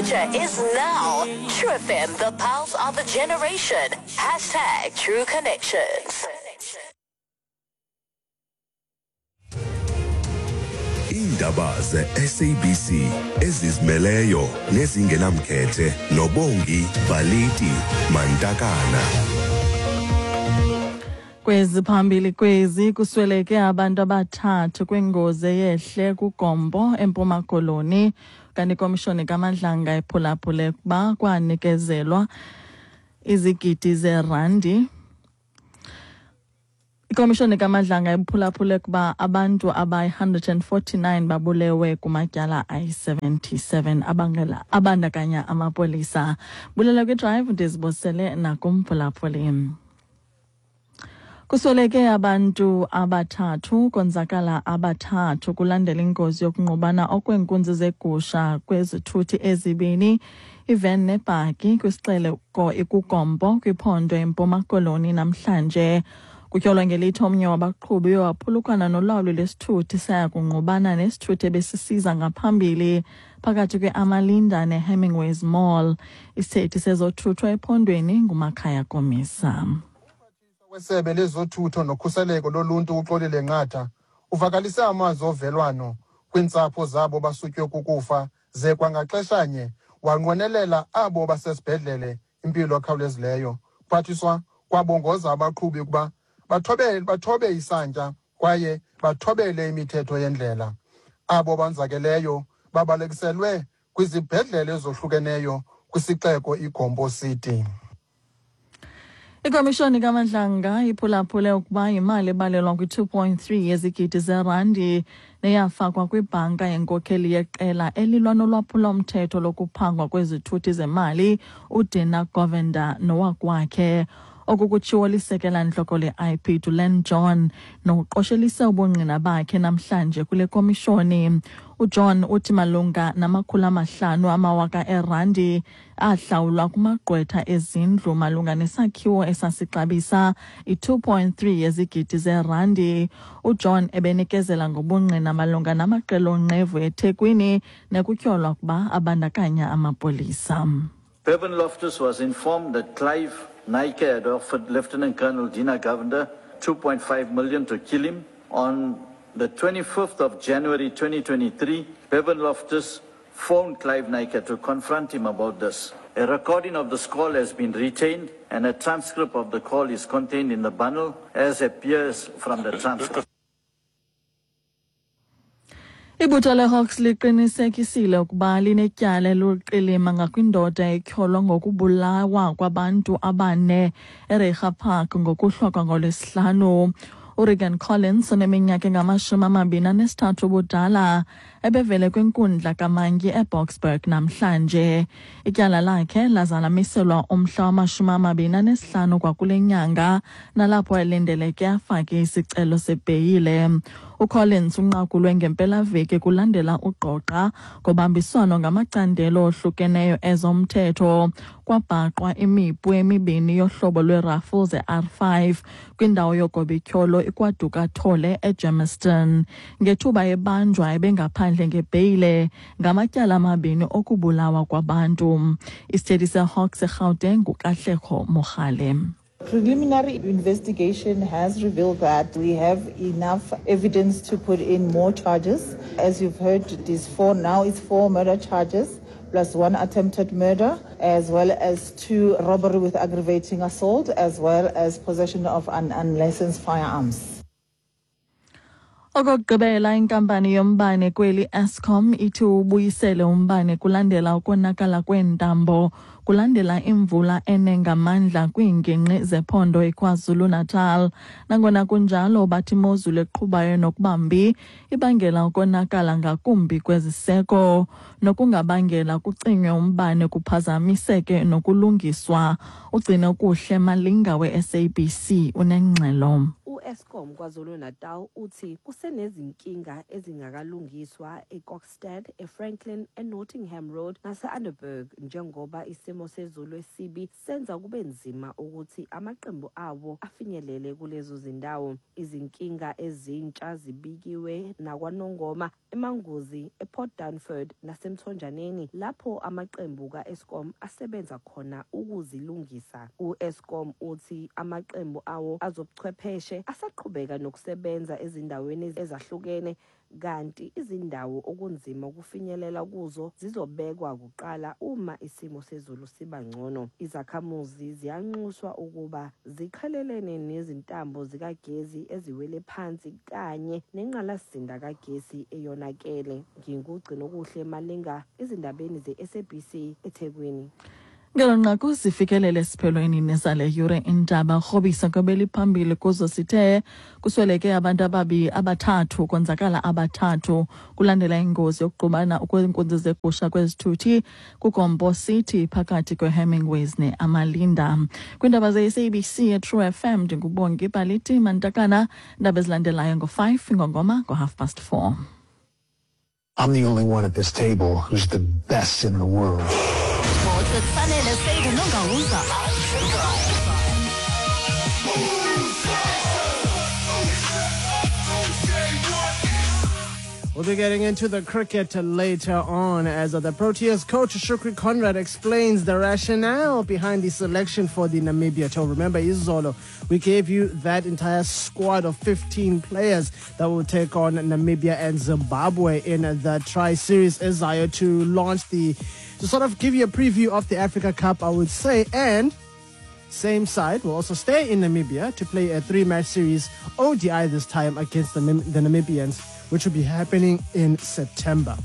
future is now. True FM, the pulse of a generation. Hashtag True Connections. Iindaba ze-SABC ezizimeleyo nezingenamkhethe noBongi Baliti Mantakana. Kwezi phambili kwezi kusweleke abantu abathathu kwingozi eyehle kuGompo eMpuma Koloni. Kanti ikomishoni kaMadlanga iphulaphule ukuba kwanikezelwa izigidi zeerandi. Ikomishoni kaMadlanga iphulaphule ukuba abantu abayi-149 babulewe kumatyala ayi-77 abangela abandakanya amapolisa. Bulela kwiDrive, ndizibosele nakumphulaphuli. Kusweleke abantu abathathu, konzakala abathathu kulandela ingozi yokungqubana okweenkunzi zegusha kwezithuthi ezibini, iven nebhaki, kwisixeko ikuGompo kwiphondo iMpuma Koloni namhlanje. Kutyholwa ngelithi omnye wabaqhubi waphulukana nolawulo lwesithuthi saya kungqubana nesithuthi ebesisiza ngaphambili phakathi kwe-Amalinda neHemingways Mall. Isithethi sezothutho ephondweni nguMakhaya Komisa. Wesebe lezothutho nokhuseleko loluntu uXolile Nqatha uvakalise amazwi ovelwano kwiintsapho zabo basutywe kukufa, ze kwangaxeshanye wanqwenelela abo basesibhedlele impilo ekhawulezileyo. Phathiswa kwabongoza abaqhubi ukuba bathobe isantya kwaye bathobele imithetho yendlela. Abo banzakeleyo babalekiselwe kwizibhedlele ezohlukeneyo kwisixeko iGompo City. Ikomishoni kaMadlanga iphulaphule ukuba imali ebalelwa kwi-2.3 yezigidi zerandi neyafakwa kwibhanka yenkokheli yeqela elilwa nolwaphulomthetho lokuphangwa kwezithuthi zemali uDina Govender nowakwakhe. Oku kutshiwo lisekela ntloko le-IP Dulen John noqoshelise ubungqina bakhe namhlanje kule komishoni. UJohn uthi malunga nama-500 amawaka erandi ahlawulwa kumagqwetha ezindlu malunga nesakhiwo esasixabisa i-2.3 yezigidi zerandi. UJohn ebenikezela ngobungqina malunga namaqela onqevu eThekwini nekutyholwa ukuba abandakanya amapolisa. Bevan Loftus was informed that Clive Naicker had offered Lieutenant Colonel Dina Govender 2.5 million to kill him. On the 25th of January 2023, Bevan Loftus phoned Clive Naicker to confront him about this. A recording of this call has been retained and a transcript of the call is contained in the bundle as appears from the transcript. Ibutho leHawks liqinisekisile ukuba linetyala eluqilima ngakwindoda etyholwa ngokubulawa kwabantu abane eReiger Park ngokuhlwa kwangolwesihlanu. uRegan Collins oneminyaka engama-23 ubudala ebevele kwinkundla kamantyi eBoksburg namhlanje. Ityala lakhe lazalamiselwa umhla wama-25 kwakule nyanga nalapho elindeleke afake isicelo sebheyile. UCollins unqakulwe ngempelaveki kulandela ugqogqa ngobambiswano ngamacandelo ohlukeneyo ezomthetho. Kwabhaqwa imipu emibini yohlobo lwerafle ze-R5 kwindawo yogobityholo iKwaDukathole eGermiston. Ngethuba ebanjwa ebengaphandle ngebheyile ngamatyala amabini okubulawa kwabantu. Isithethi seHawks eGauteng nguKatlego Mogale. Preliminary investigation has revealed that we have enough evidence to put in more charges. As you've heard, it is four, now it's 4 murder charges, plus 1 attempted murder, as well as 2 robbery with aggravating assault, as well as possession of an unlicensed firearms. Okokugqibela, inkampani yombane kweli Eskom ithi ubuyisele umbane kulandela ukonakala kweentambo kulandela imvula enengamandla kwiingingqi zephondo iKwaZulu-Natal. Nangona kunjalo, bathi imozulu eqhubayo nokubambi ibangela ukonakala ngakumbi kweziseko nokungabangela kucinywe umbane kuphazamiseke nokulungiswa. Ugcine Ukuhle Malinga we-SABC unengxelo. U-Eskom KwaZulu-Natal uthi kusenezinkinga ezingakalungiswa eKokstad, eFranklin, eNottingham Road nase-Underberg njengoba isimo sezulu esibi senza kube nzima ukuthi amaqembu awo afinyelele kulezo zindawo. Izinkinga ezintsha zibikiwe nakwaNongoma, eManguzi, ePort Dunford naseMthonjaneni, lapho amaqembu ka-Eskom asebenza khona ukuzilungisa. U-Eskom uthi amaqembu awo azobuchwepheshe asaqhubeka nokusebenza ezindaweni ezahlukene, kanti izindawo okunzima ukufinyelela kuzo zizobekwa kuqala uma isimo sezulu siba ngcono. Izakhamuzi ziyanxuswa ukuba ziqhelelene nezintambo zikagesi eziwele phansi kanye nenqalasizinda kagesi eyonakele. NginguGcinokuhle Malinga, ezindabeni ze-SABC, eThekwini. Ngelo nqaku sifikelele esiphelweni nesale yure indaba. Rhobisa kwebeliphambili kuzo sithe kusweleke abantu abathathu, konzakala abathathu kulandela ingozi yokuqubana kweenkunzi zegusha kwezithuthi kuGompo City phakathi kweHemingways neAmalinda. Kwiindaba ze-SABC eTrue FM, ndinguBongi Baliti Mantakana. Indaba ezilandelayo ngo-5, ingongoma ngo-4:30. I'm the only one at this table who's the best in the world. Sports with Sanele Seydu Nongauza. We'll be getting into the cricket later on as the Proteas coach Shukri Conrad explains the rationale behind the selection for the Namibia tour. Remember, Izolo, we gave you that entire squad of 15 players that will take on Namibia and Zimbabwe in the Tri-Series Ezayo to launch the, to sort of give you a preview of the Africa Cup, I would say, and same side will also stay in Namibia to play a 3-match series ODI this time against the Namibians, which will be happening in September.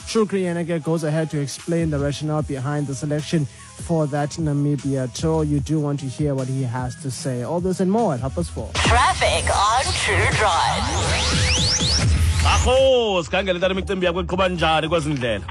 Shukri Yenege goes ahead to explain the rationale behind the selection for that Namibia tour. You do want to hear what he has to say. All this and more at 4:30. Traffic on True Drive. Akho, sikhangele tata imicimbi yakho iqhuba njani kwezindlela?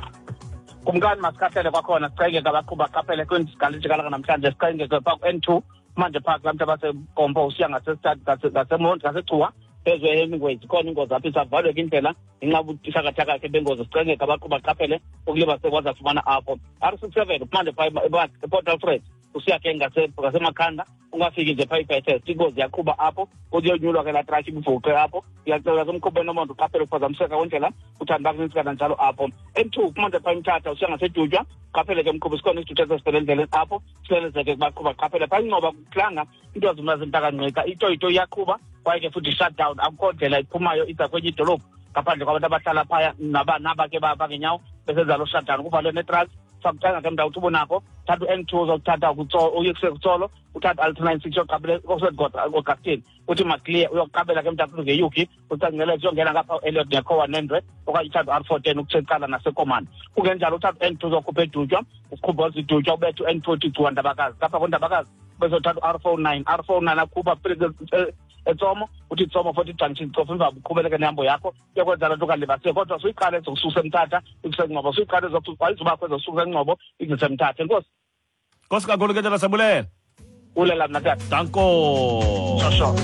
Kumkani masikhahlele kwakhona, sicenge abaqhuba qaphele kwindisikala namhlanje, sicenge pha ku-N2 manje phaa kulaa mntu abaseGompo usiya ngaseMonti ngaseGcuwa phezu eHemingways, ikhona ingozi apha isavalwe indlela ngenxa yobuthakathaka ke bengozi. Sicenge abaqhuba qaphele ukuliba sekwazi afumana apho R67 manje phaa ePort Alfred usiya ke ngaseMakhanda, ungafiki nje phaa iBethesda, ingozi yaqhuba apho kuyonyulwa ke laa truck ibuvuqe apho. Uyacela ke umqhubi enomonde uqaphele ukuphazamiseka kwendlela, uthanda bakunintsi kananjalo apho. N2 kumanje phaa eMthatha usiya ngaseDutywa, qaphele ke mqhubi, sikhona isithuthi esasivela endleleni apho, silelezeke kubaqhuba qaphele. Phaa Ingcoba kuhlanga into azimna zintakanqika, itoyito iyaqhuba kwaye ke futhi shutdown, akukho ndlela iphumayo iza kwenye idolophu ngaphandle kwabantu abahlala phaya naba ke bangenyawo besenza lo shutdown, kuvalwe netrucks. Sakuthanga ke mntawu uthi ubonakho, thatha u-N2 uzokuthatha uye kuseKutsolo, uthatha u-L296 uyoqabela Augustine, uthi maclear uyoqabela ke mntawu ngeyuki, ucangcele uyongena ngapha u-Elliot nekhowa nendwe, okanye uthatha u-R410 ukucala naseKomani. Kungenjalo uthatha u-N2 uzokhupha eDutywa, ukhupha iDutywa ubethe u-N2 uthi gcuwa Ndabakazi, ngapha koNdabakazi bezothatha u-R49, R49 akhupha eTsomo, uthi Tsomo 40 junction cofa emva uqhubeleke nehambo yakho uyokwenza loo nto kalibasiwe, kodwa suyiqale ezokususa eMthatha ikuseNgcobo, suyiqale ayizubakho ezokususa eNgcobo ikuzise eMthatha. Enkosi. Nkosi kakhulu ke tata, siyabulela. Bulela mna tata. Danko. Sho.